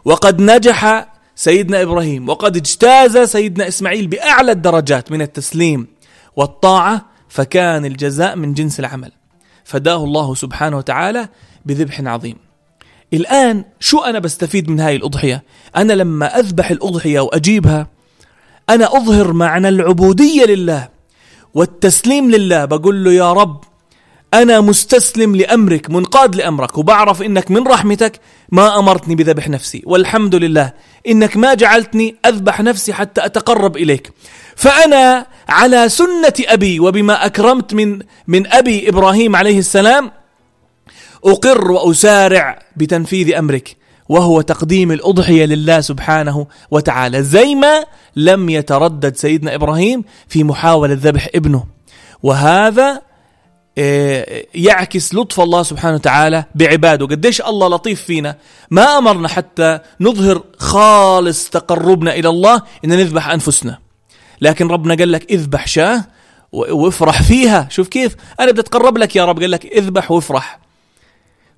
وقد نجح سيدنا إبراهيم وقد اجتاز سيدنا إسماعيل بأعلى الدرجات من التسليم والطاعة، فكان الجزاء من جنس العمل، فداه الله سبحانه وتعالى بذبح عظيم. الآن شو أنا بستفيد من هاي الأضحية؟ أنا لما أذبح الأضحية وأجيبها أنا أظهر معنى العبودية لله والتسليم لله. بقول له يا رب أنا مستسلم لأمرك، منقاد لأمرك، وبعرف إنك من رحمتك ما أمرتني بذبح نفسي، والحمد لله إنك ما جعلتني أذبح نفسي حتى أتقرب إليك. فأنا على سنة أبي وبما أكرمت من أبي إبراهيم عليه السلام أقر وأسارع بتنفيذ أمرك، وهو تقديم الأضحية لله سبحانه وتعالى، زي ما لم يتردد سيدنا إبراهيم في محاولة ذبح ابنه. وهذا يعكس لطف الله سبحانه وتعالى بعباده، قديش الله لطيف فينا. ما أمرنا حتى نظهر خالص تقربنا إلى الله إن نذبح أنفسنا، لكن ربنا قال لك اذبح شاة وافرح فيها. شوف كيف أنا بدي أتقرب لك يا رب، قال لك اذبح وافرح.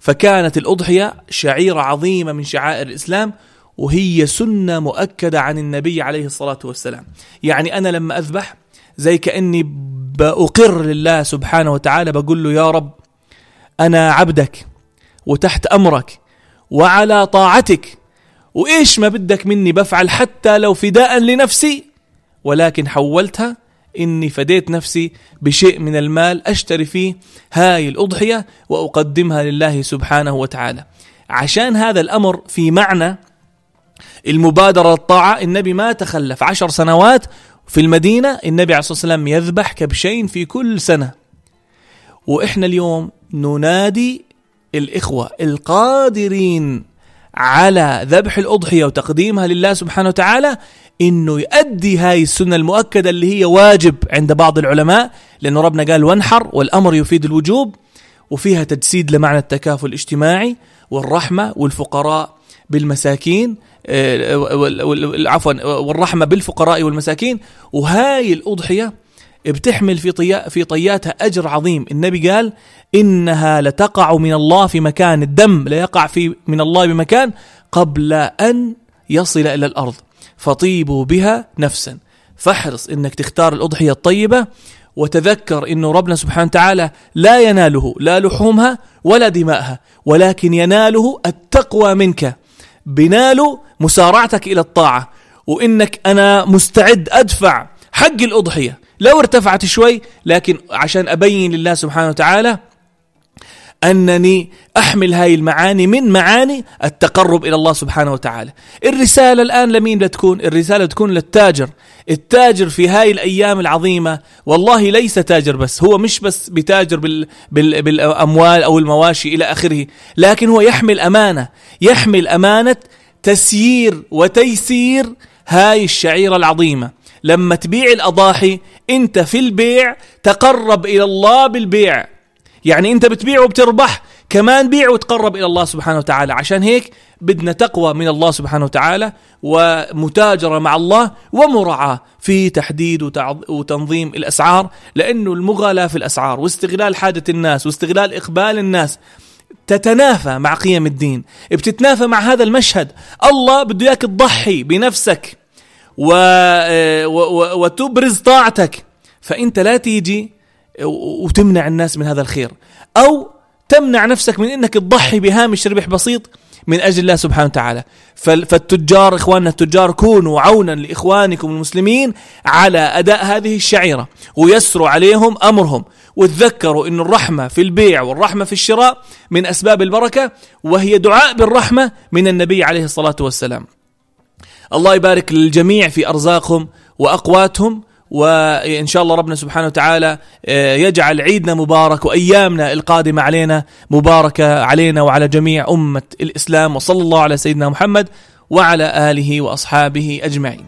فكانت الأضحية شعيرة عظيمة من شعائر الإسلام، وهي سنة مؤكدة عن النبي عليه الصلاة والسلام. يعني أنا لما أذبح زي كأني بأقر لله سبحانه وتعالى، بقول له يا رب أنا عبدك وتحت أمرك وعلى طاعتك، وإيش ما بدك مني بفعل، حتى لو فداء لنفسي، ولكن حولتها إني فديت نفسي بشيء من المال أشتري فيه هاي الأضحية وأقدمها لله سبحانه وتعالى. عشان هذا الأمر في معنى المبادرة للطاعة. النبي ما تخلف 10 سنوات في المدينة، النبي عليه الصلاة والسلام يذبح كبشين في كل سنة. وإحنا اليوم ننادي الإخوة القادرين على ذبح الأضحية وتقديمها لله سبحانه وتعالى إنه يؤدي هاي السنة المؤكدة اللي هي واجب عند بعض العلماء، لأنه ربنا قال وانحر، والأمر يفيد الوجوب، وفيها تجسيد لمعنى التكافل الاجتماعي والرحمة والفقراء بالمساكين، والرحمة بالفقراء والمساكين. وهاي الأضحية بتحمل في طياتها أجر عظيم. النبي قال إنها لتقع من الله في مكان، الدم لا يقع من الله بمكان قبل أن يصل إلى الأرض، فطيبوا بها نفسا. فاحرص إنك تختار الأضحية الطيبة، وتذكر إنه ربنا سبحانه وتعالى لا يناله لا لحومها ولا دماءها، ولكن يناله التقوى منك، بناله مسارعتك إلى الطاعة، وإنك أنا مستعد أدفع حق الأضحية لو ارتفعت شوي، لكن عشان أبين لله سبحانه وتعالى أنني أحمل هاي المعاني من معاني التقرب إلى الله سبحانه وتعالى. الرسالة الآن لمين بتكون؟ الرسالة تكون للتاجر. التاجر في هاي الأيام العظيمة والله ليس تاجر بس، هو مش بس بتاجر بالأموال أو المواشي إلى آخره، لكن هو يحمل أمانة تسيير وتيسير هاي الشعيرة العظيمة. لما تبيع الأضاحي أنت في البيع تقرب إلى الله بالبيع، يعني أنت بتبيع وبتربح، كمان بيع وتقرب إلى الله سبحانه وتعالى. عشان هيك بدنا تقوى من الله سبحانه وتعالى، ومتاجرة مع الله، ومراعاة في تحديد وتنظيم الأسعار، لأنه المغالاة في الأسعار واستغلال حاجة الناس واستغلال إقبال الناس تتنافى مع قيم الدين، بتتنافى مع هذا المشهد. الله بده إياك تضحي بنفسك وتبرز طاعتك، فأنت لا تيجي وتمنع الناس من هذا الخير، أو تمنع نفسك من أنك تضحي بهامش ربح بسيط من أجل الله سبحانه وتعالى. فالتجار، إخواننا التجار، كونوا عونا لإخوانكم المسلمين على أداء هذه الشعيرة، ويسروا عليهم أمرهم، وتذكروا أن الرحمة في البيع والرحمة في الشراء من أسباب البركة، وهي دعاء بالرحمة من النبي عليه الصلاة والسلام. الله يبارك للجميع في أرزاقهم وأقواتهم، وإن شاء الله ربنا سبحانه وتعالى يجعل عيدنا مبارك، وأيامنا القادمة علينا مباركة علينا وعلى جميع أمة الإسلام. وصلى الله على سيدنا محمد وعلى آله وأصحابه أجمعين.